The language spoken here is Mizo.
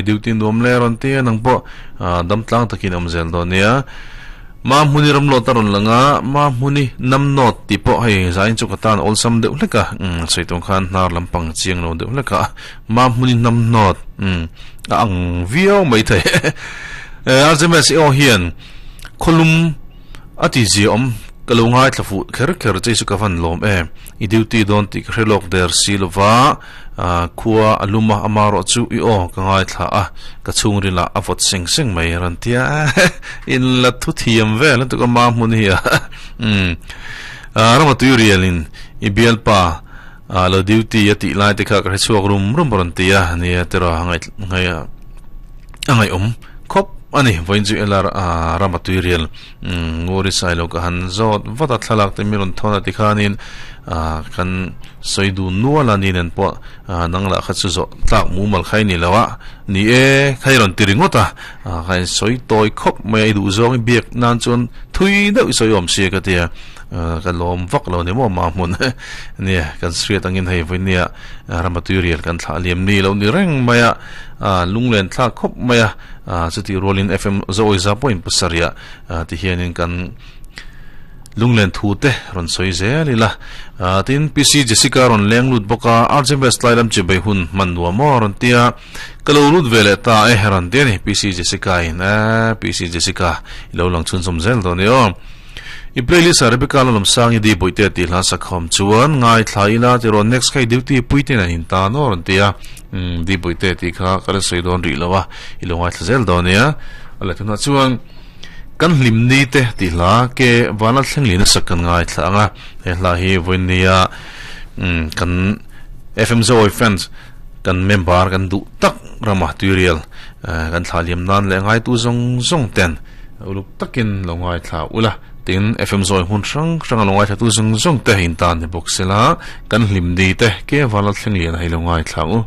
duty nuam le rawn tia nang pawh dam tlang takin awm zel dawn nia. Ma hmuni ram lawt a rawn lang a, ma hmuni nam nawt tih pawh hei zain chu ka tan awlsam deuh hlek a, sawi tawng khan hnar lampang chiang lo deuh hlek a, ma hmuni nam nawt a ang viau mai thei. RJMS i aw hian khawlum A ti zia awm, ka lo ngaithla fuh kher kher che chu ka van lawm em. I duty dawn tih ka hre lawk der si lova, khua a lum a, ama erawh chu i aw ka ngaithla a, ka chhungril ah a vawt seng seng mai a rawn ti a, in la thu thiam vel lutuk a ma hmun hi a, umm Rama tui rial in i bialpa lo duty a tih lai te kha ka hre chhuak rum rum a rawn ti a, nia tiraw ngaih A ngaihawm khawp a ni. Vawiin chu LR rama tuirial Nguri Sailo ka han zawt vat a, thlalak te mi rawn thawn a tikhanin kan sawi dun nual a, ni nen pawh nang lah kha chu zawh tlak mumal kha i ni lo a, ni e kha i rawn ti ringawt a, kha in sawi tawi khawp mai a, i duh zawng i biak nan chuan thui deuh i sawi awm sia ka ti a, ka lawm vak lo ni maw ma hmun nia kan hriat angin hei vawiin nia rama tuirial kan thlah liam ni lo ni reng mai a. A lunglen thlak khawp mai a, chutih rualin FM Zawiza pawhin pasarih ah ti hianin kan lunglen thu te rawn sawi zel ila. Tin, PC Jessica rawn leng lut bawk a, RJ Best lai lam chibai hun hman nuam aw rawn ti a, ka lo lut ve leh ta e rawn ti a ni PC Jessica in. PC Jessica i lo lang chhunzawm zel dawn i aw. I playlist ah Rebecca Lalawmsang i Di Bawihte tih hla sakhawm chuan ngaithla ila tiraw next kha i duty pui ten an in tan aw rawn ti a, umm Di Bawihte tih kha ka la sawi dawn rih lo a, i lo ngaithla zel dawn nia. A la tunah chuan Kan hlim ni te tih hla ke vana thleng lin a sak kan ngaithla ang a, he hla hi vawinia umm kan FM Zoawi fans kan member kan duh tak rama tuirial kan thlah liam nan leh ngaitu zawng zawng ten Uluk takin lo ngaithla ula, tin FM zawi hmun hrang hranga lo ngaithlatu zawng zawng te in tan ni bawk sela, kan hlim ni te ke vala thleng lian a hi lo ngaithla u.